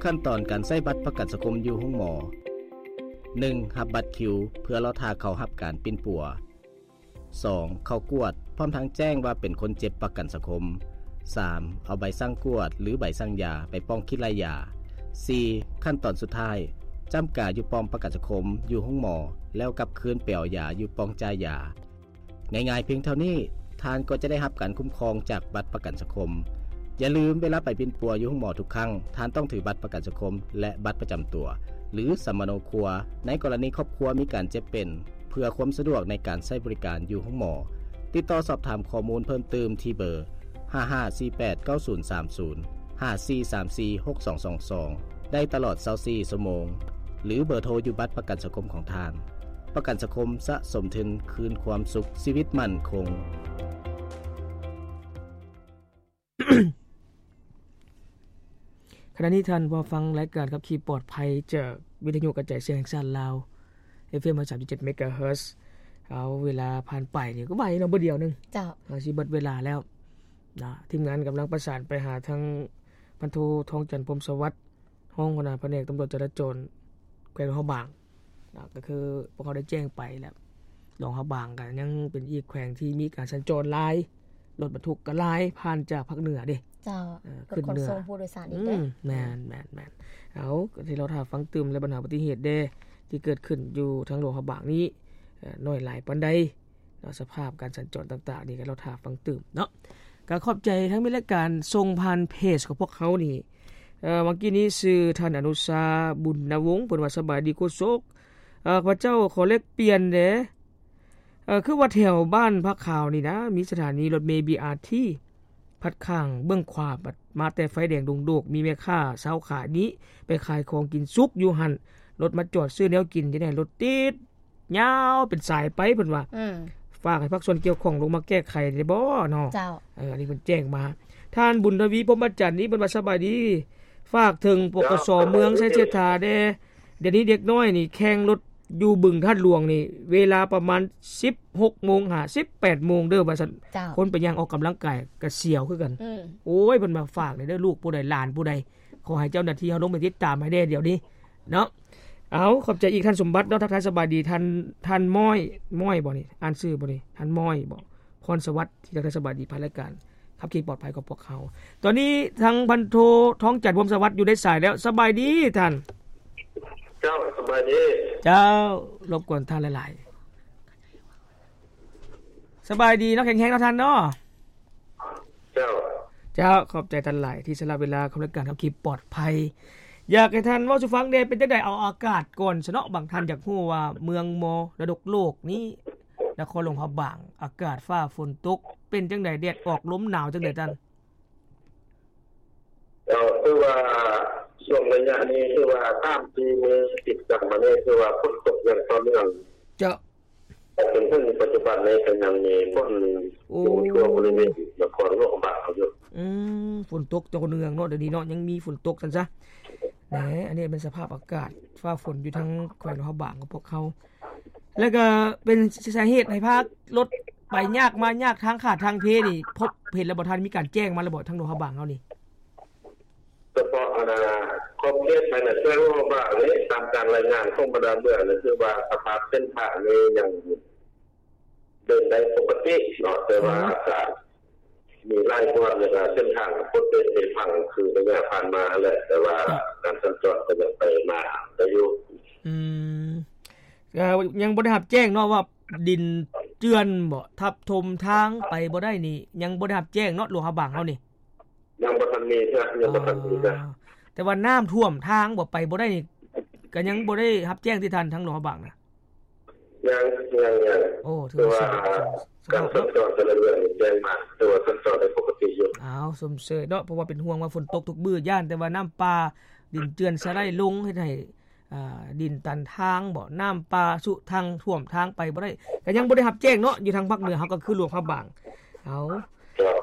ຂັ້ນຕອນການໃຊ້ບັດປະກັນສັງຄົມຢູ່ໂຮງໝໍ. ໜຶ່ງ ຮັບບັດຄິວເພື່ອລໍຖ້າເຂົ້າຮັບການປິ່ນປົວ. ສອງ ເຂົ້າກວດ ພ້ອມທັງແຈ້ງວ່າເປັນຄົນເຈັບປະກັນສັງຄົມ. ສາມ ເອົາໃບສັ່ງກວດ ຫຼື ໃບສັ່ງຢາໄປປ່ອງຂີດໄລ່ຢາ. ສີ່ ຂັ້ນຕອນສຸດທ້າຍ ຈ້ຳກາຢູ່ປ້ອມປະກັນສັງຄົມຢູ່ໂຮງໝໍ ແລ້ວກັບຄືນໄປເອົາຢາຢູ່ປ້ອງຈ່າຍຢາ. ງ່າຍໆພຽງເທົ່ານີ້ ທ່ານກໍຈະໄດ້ຮັບການຄຸ້ມຄອງຈາກບັດປະກັນສັງຄົມ. ຢ່າລືມ, ເວລາໄປປິ່ນປົວຢູ່ໂຮງໝໍທຸກຄັ້ງ, ທ່ານຕ້ອງຖືບັດປະກັນສັງຄົມ ແລະ ບັດປະຈຳຕົວ ຫຼື ສຳມະໂນຄົວ ໃນກໍລະນີຄອບຄົວມີການເຈັບເປັນ, ເພື່ອຄວາມສະດວກໃນການໃຊ້ບໍລິການຢູ່ໂຮງໝໍ. ຕິດຕໍ່ສອບຖາມຂໍ້ມູນເພີ່ມຕື່ມທີ່ເບີ ຫ້າຫ້າສີ່ແປດເກົ້າສູນສາມສູນ ຫ້າສີ່ສາມສີ່ຫົກສອງສອງສອງ ໄດ້ຕະຫຼອດຊາວສີ່ຊົ່ວໂມງ ຫຼື ເບີໂທຢູ່ບັດປະກັນສັງຄົມຂອງທ່ານ. ປະກັນສັງຄົມສະສົມທຶນຄືນຄວາມສຸກຊີວິດໝັ້ນຄົງ. ຂະນະນີ້ທ່ານເຂົ້າຟັງລາຍການຂັບຂີ່ປອດໄພຈາກວິທະຍຸກະຈາຍສຽງແຫ່ງຊາດລາວ ເອັຟເອັມ ຮ້ອຍສາມຈຸດເຈັດ ເມກາເຮີດ. ເອົາ ເວລາຜ່ານໄປນີ້ກໍໄວເນາະ, ບໍ່ດຽວໜຶ່ງ ເຈົ້າ ເຮົາຊິເບິດເວລາແລ້ວນະ. ທີມງານກຳລັງປະສານໄປຫາທາງພັນໂທ ທອງຈັນ ພົມສະຫວັດ ຮອງຫົວໜ້າພະແນກຕຳຫຼວດຈະລາຈອນແຂວງຫຼວງພະບາງນະ, ກໍຄືພວກເຮົາໄດ້ແຈ້ງໄປແລ້ວ ຫຼວງພະບາງກໍຍັງເປັນອີກແຂວງທີ່ມີການສັນຈອນຫຼາຍ, ລົດບັນທຸກກໍຫຼາຍ ຜ່ານຈາກພາກເໜືອເດ້. ເຈົ້າ ເອີ ຂຶ້ນເໜືອ ລົດຂົນສົ່ງຜູ້ໂດຍສານອີກເດ້. ອືມ ແມ່ນ ແມ່ນ ແມ່ນ. ເອົາ ກໍຊິລໍຖ້າຟັງຕື່ມ ແລະ ບັນຫາອຸບັດຕິເຫດເດ້ ທີ່ເກີດຂຶ້ນຢູ່ທາງຫຼວງພະບາງນີ້ ເອີ ໜ້ອຍຫຼາຍປານໃດ ເນາະ, ສະພາບການສັນຈອນຕ່າງໆນີ້ກໍລໍຖ້າຟັງຕື່ມເນາະ. ກໍຂອບໃຈທັງມີລາຍການສົ່ງຜ່ານເພຈຂອງພວກເຮົານີ້. ເອີ ເມື່ອກີ້ນີ້ຊື່ທ່ານອະນຸຊາ ບຸນນະວົງ ເພິ່ນວ່າ ສະບາຍດີໂຄສົກ, ເອີ ຂ້າພະເຈົ້າຂໍແລກປ່ຽນແດ່. ເອີ ຄືວ່າແຖວບ້ານຜາຂາວນີ້ນະ ມີສະຖານີລົດເມ ບີອາທີ ພັດຂ້າງເບື້ອງຂວາ ບັດມາແຕ່ໄຟແດງດົງໂດກ ມີແມ່ຄ້າຊາວຂາຍນີ້ໄປຂາຍຂອງກິນສຸກຢູ່ຫັ້ນ, ລົດມາຈອດຊື້ແນວກິນ ຈະໄດ້ລົດຕິດ ຍາວເປັນສາຍໄປ ເພິ່ນວ່າ. ອືມ ຝາກໃຫ້ພາກສ່ວນກ່ຽວຂ້ອງລົງມາແກ້ໄຂໄດ້ບໍ່ເນາະ? ເຈົ້າ ເອີ ອັນນີ້ເພິ່ນແຈ້ງມາ. ທ່ານບຸນທະວີ ພົມມະຈັນນີ້ ເພິ່ນວ່າ ສະບາຍດີ, ຝາກເຖິງ ປກສ ເມືອງໄຊເສດຖາແດ່. ດຽວນີ້ເດັກນ້ອຍນີ້ແຂ່ງລົດຢູ່ບຶງທາດຫຼວງນີ້ ເວລາປະມານສິບຫົກໂມງຫາສິບແປດໂມງເດີ ວ່າຊັ້ນ. ເຈົ້າ ຄົນໄປຍ່າງອອກກຳລັງກາຍກະສຽວຄືກັນ. ອືມ ໂອ້ຍ ເພິ່ນວ່າ ຝາກແດ່ເດີ ລູກຜູ້ໃດ ຫຼານຜູ້ໃດ ຂໍໃຫ້ເຈົ້າໜ້າທີ່ເຮົາລົງໄປຕິດຕາມໃຫ້ແດ່ດຽວນີ້ເນາະ. ເອົາ ຂອບໃຈອີກທ່ານສົມບັດເນາະ, ທັກທາຍສະບາຍດີທ່ານ ທ່ານມ້ອຍ ມ້ອຍບໍ່ນີ້ ອ່ານຊື່ບໍ່ນີ້ ທ່ານມ້ອຍບໍ່ ພອນສະຫວັດ ທີ່ທັກທາຍສະບາຍດີຜ່ານລາຍການຂັບຂີ່ປອດໄພຂອງພວກເຮົາ. ຕອນນີ້ທາງພັນໂທ ທອງຈັນ ພົມສະຫວັດ ຢູ່ໃນສາຍແລ້ວ. ສະບາຍດີທ່ານ. ເຈົ້າ ສະບາຍດີ. ເຈົ້າ ລົບກວນທ່ານຫຼາຍໆ. ສະບາຍດີເນາະ, ແຂງແຮງເນາະທ່ານເນາະ. ເຈົ້າ ເຈົ້າ ຂອບໃຈທ່ານຫຼາຍທີ່ສະຫຼະເວລາເຂົ້າລາຍການຂັບຂີ່ປອດໄພ. ຢາກໃຫ້ທ່ານເວົ້າສູ່ຟັງແດ່ ເປັນຈັ່ງໃດ? ເອົາອາກາດກ່ອນຊະເນາະ, ບາງທ່ານຢາກຮູ້ວ່າເມືອງມໍລະດົກໂລກນີ້ ນະຄອນຫຼວງພະບາງ ອາກາດຟ້າຝົນຕົກເປັນຈັ່ງໃດ? ແດດອອກ ລົມໜາວຈັ່ງໃດທ່ານ? ເຈົ້າ ຄືວ່າຊ່ວງໄລຍະນີ້ ຄືວ່າສາມສີ່ມື້ຕິດກັນມານີ້ ຄືວ່າຝົນຕົກຢ່າງຕໍ່ເນື່ອງ. ເຈົ້າ ຈົນເຖິງປັດຈຸບັນນີ້ກໍຍັງມີຝົນ ໂອ້ ຢູ່ທົ່ວບໍລິເວນນະຄອນຫຼວງພະບາງເຮົາຢູ່. ອືມ ຝົນຕົກຕໍ່ເນື່ອງເນາະ ດຽວນີ້ເນາະ, ຍັງມີຝົນຕົກຊັ້ນຊະ. ແໜ ອັນນີ້ເປັນສະພາບອາກາດຟ້າຝົນຢູ່ທາງແຂວງຫຼວງພະບາງຂອງພວກເຮົາ ແລ້ວກໍເປັນສາເຫດໃຫ້ພາກລົດໄປຍາກມາຍາກ ທາງຂາດທາງເພນີ້ ພົບເຫັນແລ້ວບໍ່ທ່ານ? ມີການແຈ້ງມາແລ້ວບໍ່ ທາງຫຼວງພະບາງເຮົານີ້? ສະເພາະອັນນ່າ ຂອບເຂດພາຍໃນແຂວງຫຼວງພະບາງນີ້ ຕາມການລາຍງານຂອງບັນດາເມືອງນີ້ ຄືວ່າສະພາບເສັ້ນທາງນີ້ຍັງເດີນໄດ້ປົກກະຕິເນາະ, ແຕ່ວ່າ ອືມ ອາດຈະມີຫຼາຍບ່ອນ ແລ້ວກໍເສັ້ນທາງປົກກະຕິເພພັງ ຄືໄລຍະຜ່ານມາຫັ້ນແຫຼະ, ແຕ່ວ່າ ເຈົ້າ ການສັນຈອນກໍຍັງໄປມາໄດ້ຢູ່. ອືມ ກໍຍັງບໍ່ໄດ້ຮັບແຈ້ງເນາະວ່າດິນເຈື່ອນບໍ ທັບຖົມທາງໄປບໍ່ໄດ້ນີ້ ຍັງບໍ່ໄດ້ຮັບແຈ້ງເນາະ ຫຼວງພະບາງເຮົານີ້? ຍັງບໍ່ທັນມີເທື່ອ ຍັງບໍ່ທັນມີເທື່ອ. ອໍ ແຕ່ວ່ານ້ຳຖ້ວມທາງບໍ່ ໄປບໍ່ໄດ້ນີ້ ກໍຍັງບໍ່ໄດ້ຮັບແຈ້ງຕິທ່ານ ທາງຫຼວງພະບາງນະ? ຍັງ ຍັງ ຍັງ. ໂອ້ ຖືວ່າ ຖືວ່າການສັນຈອນແຕ່ລະເດືອນນີ້ແຈ້ງມາ ຖືວ່າສັນຈອນໄດ້ປົກກະຕິຢູ່. ອ້າວ ຊົມເຊີຍເນາະ ເພາະວ່າເປັນຫ່ວງວ່າຝົນຕົກທຸກມື້ ຢ້ານແຕ່ວ່ານ້ຳປ່າ ດິນເຈື່ອນສະໄລລົງ ເຮັດໃຫ້ ອ່າ ດິນຕັນທາງບໍ ນ້ຳປ່າຊຸທາງ ຖ້ວມທາງໄປບໍ່ໄດ້ ກໍຍັງບໍ່ໄດ້ຮັບແຈ້ງເນາະ ຢູ່ທາງພາກເໜືອເຮົາກໍຄືຫຼວງພະບາງ. ເອົາ ເຈົ້າ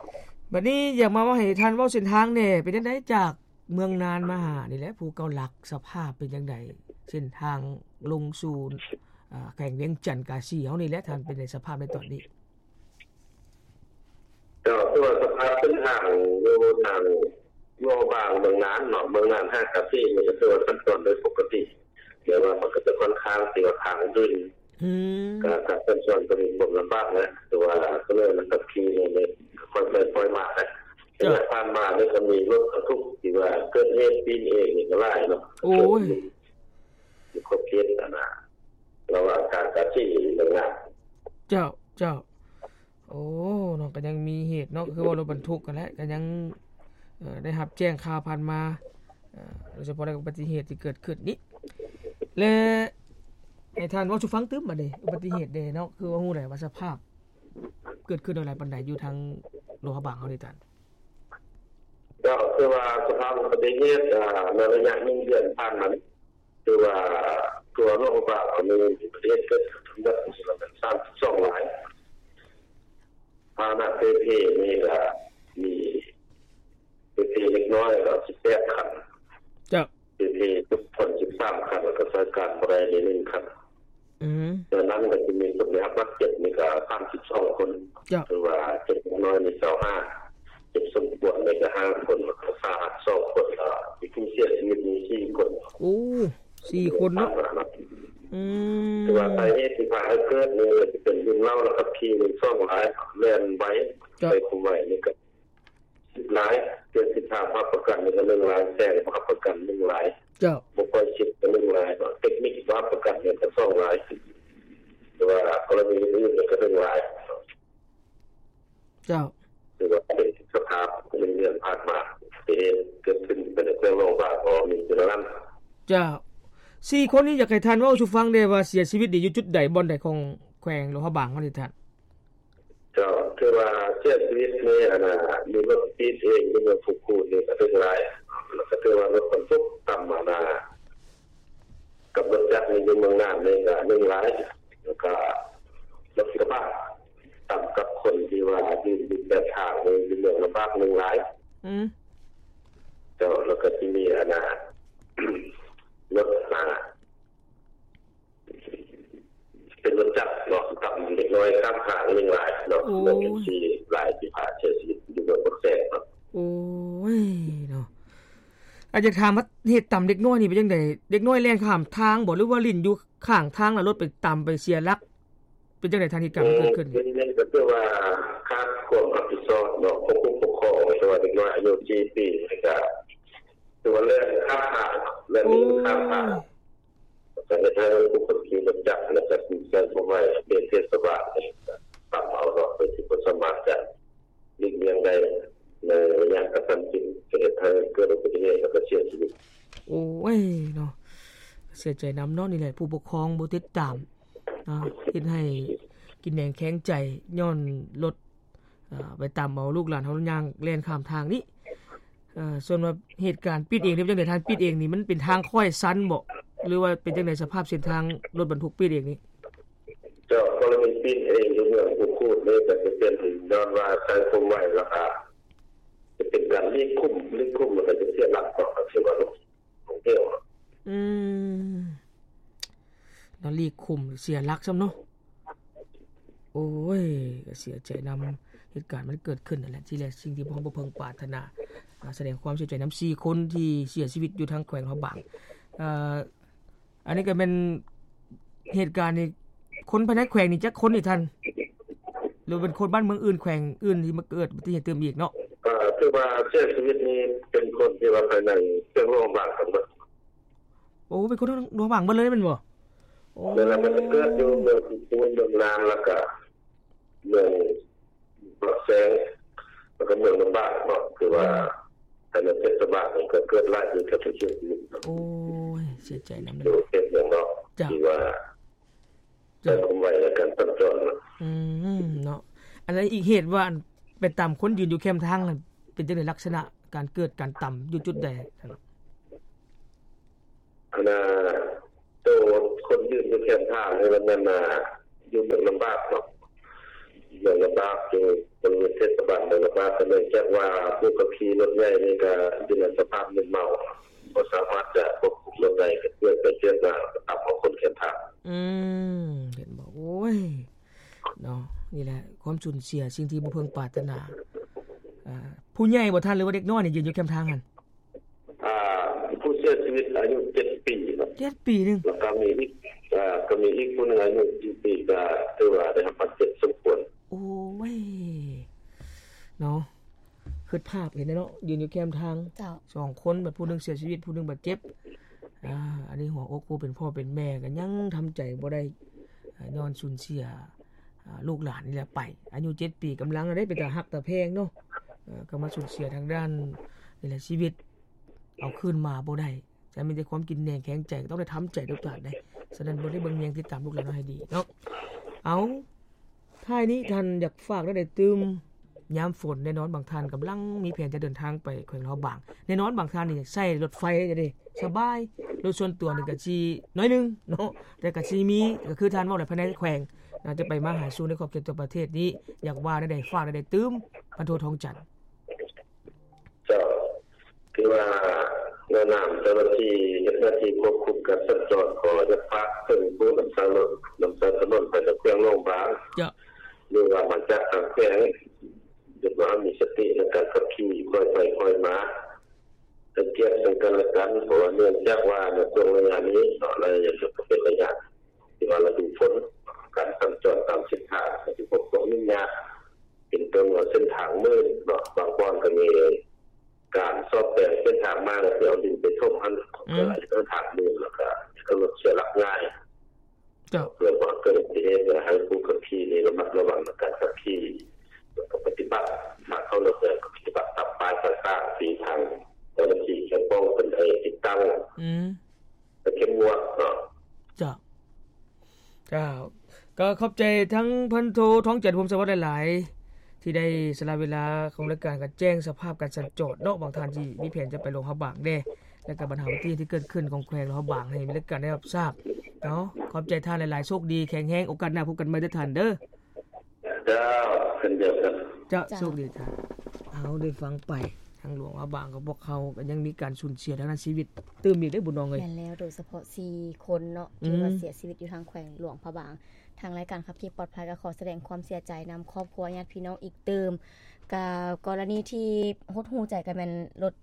ບັດນີ້ຢາກມາເວົ້າໃຫ້ທ່ານເວົ້າເສັ້ນທາງແດ່ ເປັນຈັ່ງໃດຈາກເມືອງນານມາຫານີ້ແຫຼະ ພູເກົ້າຫຼັກ ສະພາບເປັນຈັ່ງໃດ ເສັ້ນທາງລົງສູ່ ອ່າ ແຂວງວຽງຈັນກາສີເຮົານີ້ແຫຼະ ທ່ານ ເປັນໃດສະພາບໃນຕອນນີ້? ເຈົ້າ ຄືວ່າສະພາບເສັ້ນທາງຢູ່ທາງ ບໍ່ບາງເມືອງນານເນາະ ເມືອງນານຫາກາເຊນີ້ກໍຖືວ່າສັນຈອນໄດ້ປົກກະຕິ ແຕ່ວ່າມັນກໍຈະຂ້ອນຂ້າງທີ່ວ່າທາງອື່ນ ອືມ ກໍການສັນຈອນກໍມີຄວາມລຳບາກແຫຼະ ແຕ່ວ່າກໍເລີຍມັນຂັບຂີ່ນີ້ຄ່ອຍໄປຄ່ອຍມາແຫຼະ. ເຈົ້າ ແຕ່ວ່າຜ່ານມານີ້ກໍມີລົດບັນທຸກທີ່ວ່າເກີດເຫດປີ້ນເອງນີ້ກໍຫຼາຍເນາະ. ໂອ້ຍ ຢູ່ຂອບເຂດອັນນ່າ ລະຫວ່າງທາງກາເຊເມືອງນານ. ເຈົ້າ ເຈົ້າ. ໂອ້ ເນາະ ກໍຍັງມີເຫດເນາະ ຄືວ່າລົດບັນທຸກຫັ້ນແຫຼະ ກໍຍັງ ເອີ່ ໄດ້ຮັບແຈ້ງຂ່າວຜ່ານມາ ເອີ່ ໂດຍສະເພາະໃນອຸບັດຕິເຫດທີ່ເກີດຂຶ້ນນີ້ ແລະ ໃຫ້ທ່ານເວົ້າສູ່ຟັງຕື່ມບາດນີ້ ອຸບັດຕິເຫດເດ້ເນາະ ຄືວ່າຮູ້ແຫຼະວ່າສະພາບເກີດຂຶ້ນຫຼາຍປານໃດຢູ່ທາງຫຼວງພະບາງເຮົານີ້ທ່ານ? ເຈົ້າ ຄືວ່າສະພາບອຸບັດຕິເຫດ ເອີ່ ໃນໄລຍະໜຶ່ງເດືອນຜ່ານມານີ້ ຄືວ່າທົ່ວໂລກບາງມີອຸບັດຕິເຫດເກີດຂຶ້ນທັງໝົດປະມານສາມສິບສອງລາຍ. ພາຫະນະເປ່ເພນີ້ກໍມີເປ່ເພເດັກນ້ອຍກໍສິບແປດຄັນ. ເຈົ້າ. ເປ່ເພທຸກຄົນສິບສາມຄັນ ແລ້ວກໍໃຊ້ການບໍ່ໄດ້ໜຶ່ງຄັນ. ອືມ ຈາກນັ້ນກໍຈະມີຄົນໄດ້ຮັບບາດເຈັບນີ້ກໍສາມສິບສອງຄົນ. ເຈົ້າ. ຖືວ່າເຈັບເດັກນ້ອຍນີ້ຊາວຫ້າ ເຈັບສົມຄວນນີ້ກໍຫ້າຄົນ ແລ້ວກໍສາຫັດສອງຄົນ ແລ້ວມີຜູ້ເສຍຊີວິດນີ້ສີ່ຄົນ. ໂອ້ ສີ່ຄົນເນາະ. ອືມ ຖືວ່າສາເຫດທີ່ພາໃຫ້ເກີດນີ້ ຈະເປັນດື່ມເຫຼົ້າແລ້ວຂັບຂີ່ ສອງລາຍ ແລ່ນໄວ. ເຈົ້າ. ໃຊ້ຄວາມໄວນີ້ກໍ ສິບລາຍ ເຈັດສິບຫ້າ ຮັບປະກັນນີ້ກໍໜຶ່ງລາຍ ແຊງບໍ່ຮັບປະກັນໜຶ່ງລາຍ. ເຈົ້າ. ບໍ່ຄ່ອຍຊິບກໍໜຶ່ງລາຍເນາະ ເຕັກນິກບໍ່ຮັບປະກັນນີ້ກໍສອງລາຍ ແຕ່ວ່າກໍລະນີອື່ນໆນີ້ກໍໜຶ່ງລາຍ. ເຈົ້າ. ຖືວ່າເປັນສະພາບໃນເດືອນຜ່ານມາ ທີ່ເຫດເກີດຂຶ້ນໃນແຂວງຫຼວງພະບາງ ກໍມີເທົ່ານັ້ນ. ເຈົ້າ. ສີ່ຄົນນີ້ ຢາກໃຫ້ທ່ານເວົ້າສູ່ຟັງແດ່ວ່າເສຍຊີວິດນີ້ຢູ່ຈຸດໃດ ບ່ອນໃດຂອງແຂວງຫຼວງພະບາງເຮົານີ້ທ່ານ? ເຈົ້າ ຖືວ່າເສຍຊີວິດນີ້ ອັນນ່າ ມີລົດປີ້ນເອງຢູ່ເມືອງພູຄູນນີ້ກໍໜຶ່ງລາຍ ແລ້ວກໍຖືວ່າລົດບັນທຸກຕຳ ອັນນ່າ ກັບລົດຈັກນີ້ຢູ່ເມືອງນານນີ້ກໍໜຶ່ງລາຍ ແລ້ວກໍລົດກະບະຕຳກັບຄົນທີ່ວ່າຢືນຢູ່ແຄມທາງນີ້ຢູ່ເມືອງລຳບາກໜຶ່ງລາຍ. ອືມ ເຈົ້າ. ແລ້ວກໍຊິມີ ອັນນ່າ ລົດ ອັນນ່າ ເປັນລົດຈັກເນາະ ຕຳເດັກນ້ອຍຂ້າມທາງໜຶ່ງລາຍເນາະ. ໂອ້ຍ ເປັນສີ່ລາຍທີ່ພາເສຍຊີວິດຢູ່ເມືອງປາກແຊງເນາະ. ໂອ້ຍເນາະ ອາ ຢາກຖາມວ່າເຫດຕຳເດັກນ້ອຍນີ້ເປັນຈັ່ງໃດ? ເດັກນ້ອຍແລ່ນຂ້າມທາງບໍ ຫຼືວ່າຫຼິ້ນຢູ່ຂ້າງທາງ ແລ້ວລົດໄປຕຳໄປເສຍຫຼັກ ເປັນຈັ່ງໃດທ່ານ ເຫດການມັນເກີດຂຶ້ນ? ເອີ ເປັນຫຍັງກໍຄືວ່າຂາດຄວາມຮັບຜິດຊອບເນາະ ຂອງຜູ້ປົກຄອງ ແຕ່ວ່າເດັກນ້ອຍອາຍຸສີ່ປີນີ້ກໍ ຄືວ່າແລ່ນຂ້າມທາງ ແລ່ນໜີຂ້າມທາງ ກໍເຮັດໃຫ້ຜູ້ຂັບຂີ່ລົດຈັກ ແລະ ກໍຜູ້ໃຊ້ຄວາມໄວເຂດເທດສະບານນີ້ຕຳເອົາເນາະ ໂດຍທີ່ບໍ່ສາມາດຈະຫຼີກລ່ຽງໄດ້ ໃນໄລຍະກະທັນຊິດ ກໍເຮັດໃຫ້ເກີດອຸບັດຕິເຫດ ແລ້ວກໍເສຍຊີວິດ. ໂອ້ຍເນາະ ເສຍໃຈນຳເນາະ. ນີ້ແຫຼະ ຜູ້ປົກຄອງບໍ່ຕິດຕາມ ເຮັດໃຫ້ກິນແໜງແຂງໃຈ ຍ້ອນລົດ ເອີ ໄປຕຳເອົາລູກຫຼານເຮົາຍ່າງແລ່ນຂ້າມທາງນີ້. ເອີ ສ່ວນວ່າເຫດການປິດເອງນີ້ເປັນຈັ່ງໃດທ່ານ? ປິດເອງນີ້ມັນເປັນທາງຄ້ອຍຊັນບໍ ຫຼືວ່າເປັນຈັ່ງໃດ ສະພາບເສັ້ນທາງລົດບັນທຸກປິດເອງນີ້? ເຈົ້າ ກໍລະນີປີ້ນເອງຢູ່ເມືອງພູຄູນນີ້ ກໍຈະເປັນຍ້ອນວ່າໃຊ້ຄວາມໄວ ແລ້ວກະຈະເປັນການຫຼີກຂຸມ ຫຼີກຂຸມ ແລ້ວກໍຈະເສຍຫຼັກເນາະ ກໍຖືວ່າລົງ ລົງເຫວ. ອືມ ແລ້ວຫຼີກຂຸມເສຍຫຼັກຊ້ຳເນາະ. ໂອ້ຍ ກໍເສຍໃຈນຳເຫດການມັນເກີດຂຶ້ນນັ້ນແຫຼະ. ທີ່ແລກສິ່ງທີ່ພວກເຮົາບໍ່ເພິ່ງປາດຖະໜາ ອາ ສະແດງຄວາມເສຍໃຈນຳສີ່ຄົນທີ່ເສຍຊີວິດຢູ່ທາງແຂວງຫຼວງພະບາງ. ເອີ ອັນນີ້ກໍແມ່ນເຫດການນີ້ ຄົນພາຍໃນແຂວງນີ້ຈັກຄົນນີ້ທ່ານ? ຫຼືເປັນຄົນບ້ານເມືອງອື່ນ ແຂວງອື່ນທີ່ມາເກີດອຸບັດຕິເຫດຕື່ມອີກເນາະ? ເອີ ຖືວ່າເສຍຊີວິດນີ້ເປັນຄົນທີ່ວ່າພາຍໃນແຂວງຫຼວງພະບາງທັງໝົດ. ໂອ້ ເປັນຄົນຫຼວງພະບາງເບິດເລີຍແມ່ນບໍ່? ໂອ້ ແມ່ນລະ ມັນຈະເກີດຢູ່ເມືອງພູຄູນ ເມືອງນານ ແລ້ວກະເມືອງປາກແຊງ ແລ້ວກະເມືອງລຳບາກເນາະ ຄືວ່າ ອືມ ພາຍໃນເທດສະບານນີ້ກໍເກີດຫຼາຍຢູ່ແຖວເຂດນີ້. ໂອ້ຍ ເສຍໃຈນຳເດີ ຢູ່ເຂດເມືອງນອກ ເຈົ້າ ທີ່ວ່າ ເຈົ້າ ໃຊ້ຄວາມໄວໃນການສັນຈອນເນາະ. ອືມ ເນາະ ອັນນັ້ນອີກເຫດວ່າ ອັນ ໄປຕຳຄົນຢືນຢູ່ແຄມທາງນັ້ນ ເປັນຈັ່ງໃດ ລັກສະນະການເກີດການຕຳຢູ່ຈຸດໃດ? ອັນນ່າ ໂຕຄົນຢືນຢູ່ແຄມທາງນີ້ມັນແມ່ນ ອ່າ ຢູ່ເມືອງລຳບາກເນາະ ເມືອງລຳບາກ ຢູ່ບໍລິເວນເທດສະບານເມືອງລຳບາກ ກໍເນື່ອງຈາກວ່າຜູ້ຂັບຂີ່ລົດໃຫຍ່ນີ້ກໍຢູ່ໃນສະພາບມຶນເມົາ ບໍ່ສາມາດຈະຄວບຄຸມລົດໄດ້ ກໍເຈື່ອນໄປເຈື່ອນມາ ກໍຕຳເອົາຄົນແຄມທາງ. ອືມ ເຫັນບໍ່? ໂອ້ຍ ເນາະ ນີ້ແຫຼະ ຄວາມສູນເສຍ ສິ່ງທີ່ບໍ່ເພິ່ງປາດຖະໜາ ອ່າ ຜູ້ໃຫຍ່ບໍ່ທ່ານ ຫຼືວ່າເດັກນ້ອຍນີ້ຢືນຢູ່ແຄມທາງຫັ້ນ? ອ່າ ຜູ້ເສຍຊີວິດອາຍຸເຈັດປີເນາະ ເຈັດປີໜຶ່ງ ແລ້ວກໍມີອີກ ອ່າ ກໍມີອີກຜູ້ໜຶ່ງອາຍຸສີ່ປີ ກໍຖືວ່າໄດ້ຮັບບາດເຈັບສົມຄວນ. ໂອ້ຍ ເນາະ ຄິດພາບເຫັນເນາະ ຢືນຢູ່ແຄມທາງ ເຈົ້າ ສອງຄົນ ບັດຜູ້ໜຶ່ງເສຍຊີວິດ ຜູ້ໜຶ່ງບາດເຈັບ. ອ່າ ອັນນີ້ຫົວອົກຜູ້ເປັນພໍ່ເປັນແມ່ກໍຍັງທຳໃຈບໍ່ໄດ້ ອ່າ ຍ້ອນສູນເສຍ ອ່າ ລູກຫຼານນີ້ແຫຼະໄປ ອາຍຸເຈັດປີ ກຳລັງເດ້ ເປັນຕາຮັກຕາແພງເນາະ ເອີ ກໍມາສູນເສຍທາງດ້ານນີ້ແຫຼະ ຊີວິດ ເອົາຄືນມາບໍ່ໄດ້ ຈະມີແຕ່ຄວາມກິນແໜງແຂງໃຈ ກໍຕ້ອງໄດ້ທຳໃຈທຸກທ່ານເດ້. ສະນັ້ນ ບໍ່ໄດ້ເບິ່ງແຍງ ຕິດຕາມລູກຫຼານເຮົາໃຫ້ດີເນາະ. ເອົາ ທ້າຍນີ້ທ່ານຢາກຝາກແນວໃດຕື່ມ? ຍາມຝົນແນ່ນອນ ບາງທ່ານກຳລັງມີແຜນຈະເດີນທາງໄປແຂວງຫຼວງພະບາງ ແນ່ນອນ ບາງທ່ານນີ້ໃຊ້ລົດໄຟເດ້ ສະບາຍ ລົດສ່ວນຕົວນີ້ກໍຊິໜ້ອຍໜຶ່ງເນາະ ແຕ່ກໍຊິມີ ກໍຄືທ່ານເວົ້າແຫຼະ ພາຍໃນແຂວງ ອາດຈະໄປມາຫາສູ່ໃນຂອບເຂດທົ່ວປະເທດນີ້ ຢາກວ່າແນວໃດ ຝາກແນວໃດຕື່ມ ພັນໂທ ທອງຈັນ? ເຈົ້າ ຄືວ່າໃນນາມເຈົ້າໜ້າທີ່ເຮັດໜ້າທີ່ຄວບຄຸມການສັນຈອນ ກໍຢາກຝາກເຖິງຜູ້ນຳໃຊ້ລົດ ນຳໃຊ້ຖະໜົນໄປໃນແຂວງຫຼວງພະບາງ ເຈົ້າ ຫຼືວ່າມາຈາກຕ່າງແຂວງ ຢາກວ່າມີສະຕິໃນການຂັບຂີ່ ຄ່ອຍໄປຄ່ອຍມາ ໃຫ້ກຽດເຊິ່ງກັນແລະກັນ ເພາະວ່າເນື່ອງຈາກວ່າໃນຊ່ວງໄລຍະນີ້ເນາະ ໄລຍະນີ້ກໍເປັນໄລຍະ ທີ່ວ່າລະດູຝົນ ການສັນຈອນຕາມເສັ້ນທາງກໍຊິພົບຄວາມຫຍຸ້ງຍາກ ເປັນຕົ້ນວ່າເສັ້ນທາງມື່ນເນາະ ບາງບ່ອນກໍມີການສ້ອມແປງເສັ້ນທາງໃໝ່ ແລ້ວຊິເອົາດິນໄປຖົມຫັ້ນ ອືມ ກໍເຮັດໃຫ້ທາງມື່ນ ແລ້ວກໍເຮັດໃຫ້ລົດເສຍຫຼັກງ່າຍ. ເຈົ້າ ເພື່ອບໍ່ໃຫ້ເກີດອຸບັດຕິເຫດ ແລະ ໃຫ້ຜູ້ຂັບຂີ່ນີ້ລະມັດລະວັງໃນການຂັບຂີ່ ແລ້ວກໍປະຕິບັດ ຖ້າເຂົ້າລົດແລ້ວກໍປະຕິບັດຕາມປ້າຍຕ່າງໆ ທີ່ທາງເຈົ້າໜ້າທີ່ກ່ຽວຂ້ອງເພິ່ນໄດ້ຕິດຕັ້ງ ອືມ ແລະ ເຂັ້ມງວດເນາະ. ເຈົ້າ ເຈົ້າ ກໍຂອບໃຈທັງພັນໂທ ທອງຈັນ ພົມສະຫວັດ ຫຼາຍໆ ທີ່ໄດ້ສະຫຼະເວລາຂອງລາຍການ ກໍແຈ້ງສະພາບການສັນຈອນເນາະ ບາງທ່ານທີ່ມີແຜນຈະໄປຫຼວງພະບາງແດ່ ແລ້ວກໍບັນຫາອຸບັດຕິເຫດທີ່ເກີດຂຶ້ນຂອງແຂວງຫຼວງພະບາງ ໃຫ້ມີລາຍການໄດ້ຮັບຊາບເນາະ. ຂອບໃຈທ່ານຫຼາຍໆ ໂຊກດີ ແຂງແຮງ ໂອກາດໜ້າພົບກັນໃໝ່ເດີທ່ານເດີ. ເຈົ້າ ເຊັ່ນດຽວກັນ ເຈົ້າ ເຈົ້າ ໂຊກດີທ່ານ. ເຮົາໄດ້ຟັງໄປ ທາງຫຼວງພະບາງຂອງພວກເຮົາກໍຍັງມີການສູນເສຍທາງດ້ານຊີວິດຕື່ມອີກເດ້ ບຸນນ້ອງເອີຍ. ແມ່ນແລ້ວ ໂດຍສະເພາະສີ່ຄົນເນາະ ອືມ ທີ່ວ່າເສຍຊີວິດຢູ່ທາງແຂວງຫຼວງພະບາງ. ທາງລາຍການຂັບຂີ່ປອດໄພກໍຂໍສະແດງຄວາມເສຍໃຈນຳຄອບຄົວ ຍາດພີ່ນ້ອງອີກຕື່ມ. ກໍກໍລະນີທີ່ຫົດຫູ່ໃຈກໍແມ່ນລົດ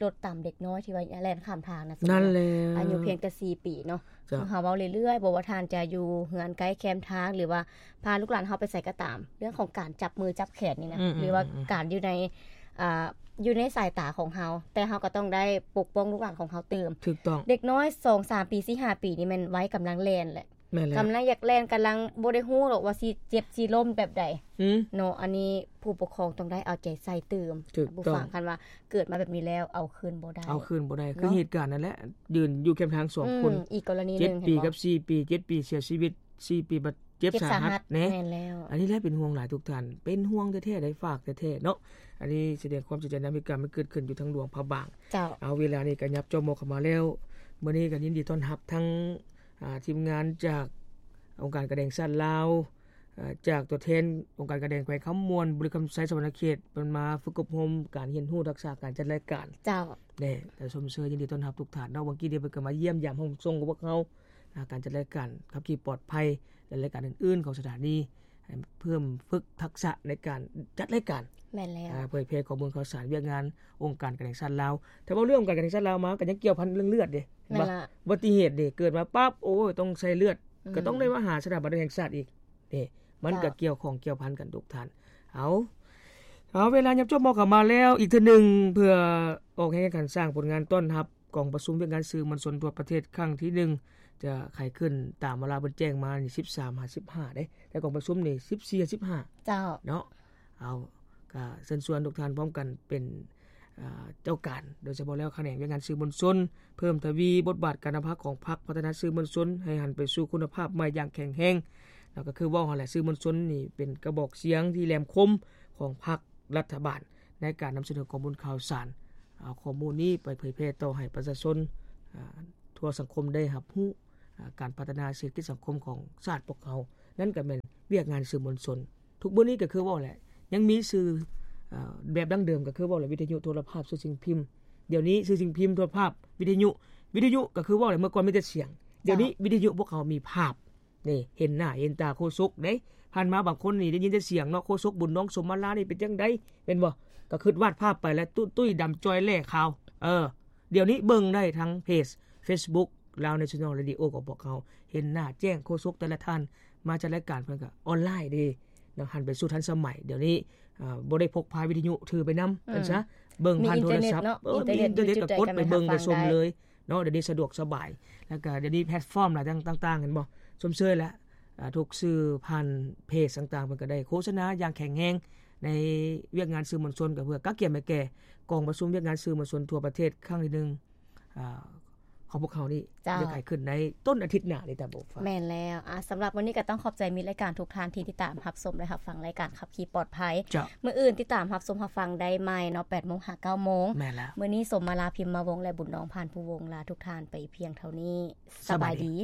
ລົດຕຳເດັກນ້ອຍທີ່ວ່າແລ່ນຂ້າມທາງນະ ນັ້ນແຫຼະ ອາຍຸພຽງແຕ່ສີ່ປີເນາະ. ເຈົ້າ ເຮົາເວົ້າເລື້ອຍໆ ບໍ່ວ່າທ່ານຈະຢູ່ເຮືອນໃກ້ແຄມທາງ ຫຼືວ່າພາລູກຫຼານເຮົາໄປໃສກໍຕາມ ເລື່ອງຂອງການຈັບມືຈັບແຂນນີ້ນະ ອືມໆໆ ຫຼືວ່າການຢູ່ໃນ ອ່າ ຢູ່ໃນສາຍຕາຂອງເຮົາ ແຕ່ເຮົາກໍຕ້ອງໄດ້ປົກປ້ອງລູກຫຼານຂອງເຮົາຕື່ມ. ຖືກຕ້ອງ ເດັກນ້ອຍສອງສາມປີ ສີ່ຫ້າປີນີ້ແມ່ນໄວກຳລັງແລ່ນແຫຼະ. ແມ່ນແລ້ວ ກຳລັງຢາກແລ່ນ ກຳລັງບໍ່ໄດ້ຮູ້ດອກວ່າຊິເຈັບຊິລົ້ມແບບໃດ ອືມ ເນາະ. ອັນນີ້ຜູ້ປົກຄອງຕ້ອງໄດ້ເອົາໃຈໃສ່ຕື່ມ ຖືກຕ້ອງ ຜູ້ຟັງ ຄັນວ່າເກີດມາແບບນີ້ແລ້ວເອົາຄືນບໍ່ໄດ້ ເອົາຄືນບໍ່ໄດ້ ເນາະ. ຄືເຫດການນັ້ນແຫຼະ ຢືນຢູ່ແຄມທາງສອງຄົນ ອືມ ອີກກໍລະນີໜຶ່ງ ເຈັດປີກັບສີ່ປີ ເຈັດປີເສຍຊີວິດ ສີ່ປີບາດເຈັບສາຫັດເນາະ. ແມ່ນແລ້ວ ອັນນີ້ແຫຼະເປັນຫ່ວງຫຼາຍທຸກທ່ານ ເປັນຫ່ວງແທ້ໆ ໄດ້ຝາກແທ້ໆເນາະ. ອັນນີ້ສະແດງຄວາມເສຍໃຈນຳເຫດການມັນເກີດຂຶ້ນຢູ່ທາງຫຼວງພະບາງ. ເຈົ້າ ເອົາ ເວລານີ້ກໍຫຍັບຈອບມອບເຂົ້າມາແລ້ວ ມື້ນີ້ກໍຍິນດີຕ້ອນຮັບທັງ ອ່າ ທີມງານຈາກອົງການການແດງຊາດລາວ ເອີ ຈາກຕົວແທນອົງການການແດງແຂວງຄຳມ່ວນ ບໍລິຄຳໄຊ ສະຫວັນນະເຂດ ເພິ່ນມາຝຶກອົບຮົມການຮຽນຮູ້ທັກສະການຈັດລາຍການ. ເຈົ້າ ແດ່ ແລະ ຊົມເຊີຍຍິນດີຕ້ອນຮັບທຸກທ່ານເນາະ. ເມື່ອກີ້ນີ້ເພິ່ນກໍມາຢ້ຽມຢາມຫ້ອງສົ່ງຂອງພວກເຮົາ ອາ ການຈັດລາຍການຂັບຂີ່ປອດໄພ ແລະ ລາຍການອື່ນໆຂອງສະຖານີ ໃຫ້ເພີ່ມຝຶກທັກສະໃນການຈັດລາຍການ. ແມ່ນແລ້ວ ອາ ເຜີຍແຜ່ຂໍ້ມູນຂ່າວສານວຽກງານອົງການການແດງຊາດລາວ. ຖ້າເວົ້າເລື່ອງອົງການການແດງຊາດລາວມາ ກໍຍັງກ່ຽວພັນເລື່ອງເລືອດເດ້ ແມ່ນລະ ອຸບັດຕິເຫດເດ້ ເກີດມາປັບ ໂອ້ຍ ຕ້ອງໃສ່ເລືອດ ອືມ ກໍຕ້ອງໄດ້ມາຫາສະຖາບັນແຫ່ງຊາດອີກເດ້. ມັນກໍ ເຈົ້າ ກ່ຽວຂ້ອງກ່ຽວພັນກັນທຸກທ່ານ. ເອົາ ເອົາ ເວລາຫຍັບຈອບມອບເຂົ້າມາແລ້ວ ອີກເທື່ອໜຶ່ງ ເພື່ອອອກແຮງໃນການສ້າງຜົນງານຕ້ອນຮັບ ກອງປະຊຸມວຽກງານສື່ມວນຊົນທົ່ວປະເທດຄັ້ງທີໜຶ່ງ ຈະໄຂຂຶ້ນຕາມເວລາເພິ່ນແຈ້ງມານີ້ ສິບສາມຫາສິບຫ້າເດ້ ແຕ່ກອງປະຊຸມນີ້ ສິບສີ່ຫາສິບຫ້າ ເຈົ້າ ເນາະ. ເອົາ ກະເຊີນຊວນທຸກທ່ານພ້ອມກັນເປັນ ເອີ ເຈົ້າການ ໂດຍສະເພາະແລ້ວຂະແໜງວຽກງານສື່ມວນຊົນ ເພີ່ມທະວີບົດບາດການນຳພາຂອງພັກ ພັດທະນາສື່ມວນຊົນໃຫ້ຫັນໄປສູ່ຄຸນນະພາບໃໝ່ຢ່າງແຂງແຮງ. ແລ້ວກໍຄືເວົ້າຫັ້ນແຫຼະ ສື່ມວນຊົນນີ້ເປັນກະບອກສຽງທີ່ແຫຼມຄົມຂອງພັກ ລັດຖະບານ ໃນການນຳສະເໜີຂໍ້ມູນຂ່າວສານ ເອົາຂໍ້ມູນນີ້ໄປເຜີຍແຜ່ຕໍ່ໃຫ້ປະຊາຊົນ ອາ ທົ່ວສັງຄົມໄດ້ຮັບຮູ້ ອາ ການພັດທະນາເສດຖະກິດສັງຄົມຂອງຊາດພວກເຮົາ ນັ້ນກໍແມ່ນວຽກງານສື່ມວນຊົນ. ທຸກມື້ນີ້ກໍຄືເວົ້າແຫຼະ ຍັງມີສື່ ເອີ ແບບດັ້ງເດີມ ກໍຄືເວົ້າແຫຼະ ວິທະຍຸ ໂທລະພາບ ສື່ສິ່ງພິມ. ດຽວນີ້ສື່ສິ່ງພິມ ໂທລະພາບ ວິທະຍຸ ວິທະຍຸກໍຄືເວົ້າແຫຼະ ເມື່ອກ່ອນມີແຕ່ສຽງ ດຽວນີ້ ເຈົ້າ ວິທະຍຸພວກເຮົາມີພາບ ນີ້ ເຫັນໜ້າເຫັນຕາໂຄສົກເດ້. ຜ່ານມາບາງຄົນນີ້ໄດ້ຍິນແຕ່ສຽງເນາະ ໂຄສົກບຸນນ້ອງສົມມາລານີ້ເປັນຈັ່ງໃດ ແມ່ນບໍ່? ກໍຄຶດວາດພາບໄປແລ້ວ ຕຸ້ ຕຸ້ຍດຳຈ່ອຍແຫຼ້ຂາວ. ເອີ ດຽວນີ້ເບິ່ງໄດ້ທາງເພຈ Facebook Lao National Radio ຂອງພວກເຮົາ ເຫັນໜ້າແຈ້ງໂຄສົກແຕ່ລະທ່ານມາຈັດລາຍການ ເພິ່ນກໍອອນລາຍເດ້ເນາະ ຫັນໄປສູ່ທັນສະໄໝ. ດຽວນີ້ ເອີ ບໍ່ໄດ້ພົກພາວິທະຍຸຖືໄປນຳ ອືມ ເປັນຊະ ເບິ່ງຜ່ານໂທລະສັບ ເອີ ມີອິນເຕີເນັດເນາະ ເອີ ມີອິນເຕີເນັດ ມີອິນເຕີເນັດກໍກົດໄປເບິ່ງໄປຊົມເລີຍເນາະ. ດຽວນີ້ສະດວກສະບາຍ ແລ້ວກໍດຽວນີ້ແພລດຟອມຫຼາຍຕ່າງໆ ເຫັນບໍ່ ຊົມເຊີຍແຫຼະ. ອ່າ ທຸກສື່ຜ່ານເພຈຕ່າງໆ ເພິ່ນກໍໄດ້ໂຄສະນາຢ່າງແຂງແຮງໃນວຽກງານສື່ມວນຊົນ ກໍເພື່ອກະກຽມໃຫ້ແກ່ກອງປະຊຸມວຽກງານສື່ມວນຊົນທົ່ວປະເທດຄັ້ງທີໜຶ່ງ ອ່າ ຂອງພວກເຮົານີ້ ເຈົ້າ ຈະໄດ້ຂຶ້ນໃນຕົ້ນອາທິດໜ້ານີ້ ຕາໂບຟ້າ. ແມ່ນແລ້ວ ອ່າ ສຳລັບມື້ນີ້ກໍຕ້ອງຂອບໃຈມິດລາຍການທຸກທ່ານທີ່ຕິດຕາມຮັບຊົມ ແລະ ຮັບຟັງລາຍການຂັບຂີ່ປອດໄພ. ເຈົ້າ ມື້ອື່ນຕິດຕາມຮັບຊົມຮັບຟັງໄດ້ໃໝ່ເນາະ ແປດໂມງຫາເກົ້າໂມງ. ແມ່ນແລ້ວ ມື້ນີ້ ສົມມາລາ ພິມມະວົງ ແລະ ບຸນນອງ ພານພູວົງ ລາທຸກທ່ານໄປພຽງເທົ່ານີ້. ສະບາຍດີ.